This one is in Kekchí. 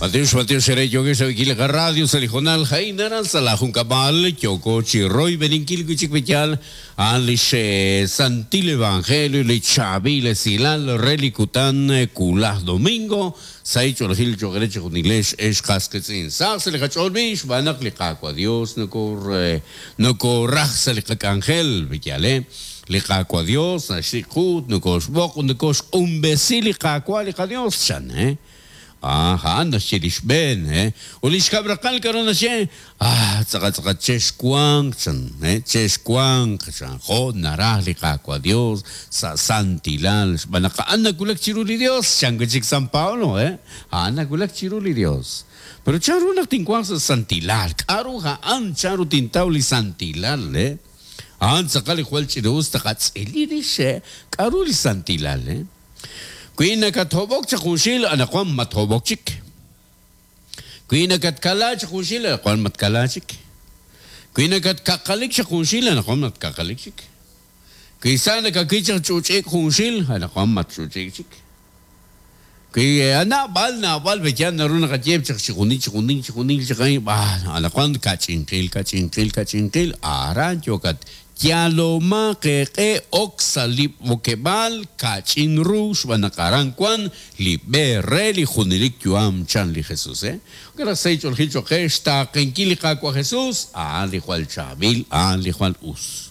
Matiox, matiox eere yookex rab'inkil li qaradio sa' li hoonal a'in aran sa' laa junkab'al yooko chi royb'eninkil wi' chik pe yaal a'an lix santil evangelio li chaab'il esilal re li kutan wulaj domingo sahil ch'oolejil cho'q eere chejunilex ex qas qiitz'in. Sahaq sa' li qach'ool b'i' xb'aan naq li Qaawa' Dios nokooraj sa' li qak'anjel, pe yaal eh? Li Qaawa' Dios naxsik' qu ut nokooxb'oq ut nokooxq'unb'esi li Qaawa' li qaDios, chan eh? Ah, a'an naxye li xb'een, eh? Ut li xkab' raqal k'aru naxye? Ah, tz'aqal tz'aqal chexwanq, chan, eh? Chexwanq, chan, jo' naraj li Qaawa' Dios sa' santilal, xb'aan naq a'an nawulak chiru li Dios, chan wi' chik San Pablo, eh? A'an nawulak chiru li Dios. Pero chanru naq tinwanq sa' santilal? K'aru a'an? Chanru tintaw li santilal, eh? A'an tz'aqal li jwal ch'ina'us taqatz'ili rix, eh? K'aru li santilal, eh? Wi nakathob'ok chaq junxil, anaqwan mathob'ok chik. Wi nakatkala chaq junxil, anaqwan matkala chik. Wi nakatkaqalik chaq junxil, anaqwan matkaqalik chik. Wi sa nakawil chaq ch'uch'ik junxil, anaqwan match'uch'ik chik. Wi naab'al, naab'al, pe'yaal naru naqaye chaq chijunil, chijunil, chijunil, chijunil, anaqwan kach'inqil, kach'inqil, kach'inqil, aran yookat Yalomaq eeq'e ok sa' li b'okeb'aal ka'ch'in ru xb'aan naq aran wan li b'e re li junelik yu'am, chan li Jesus. Jo'kan naq sahil ch'oolejil cho'q qe xtaaqenkil li Qaawa' Jesus, a'an li jwal chaab'il, a'an li jwal us.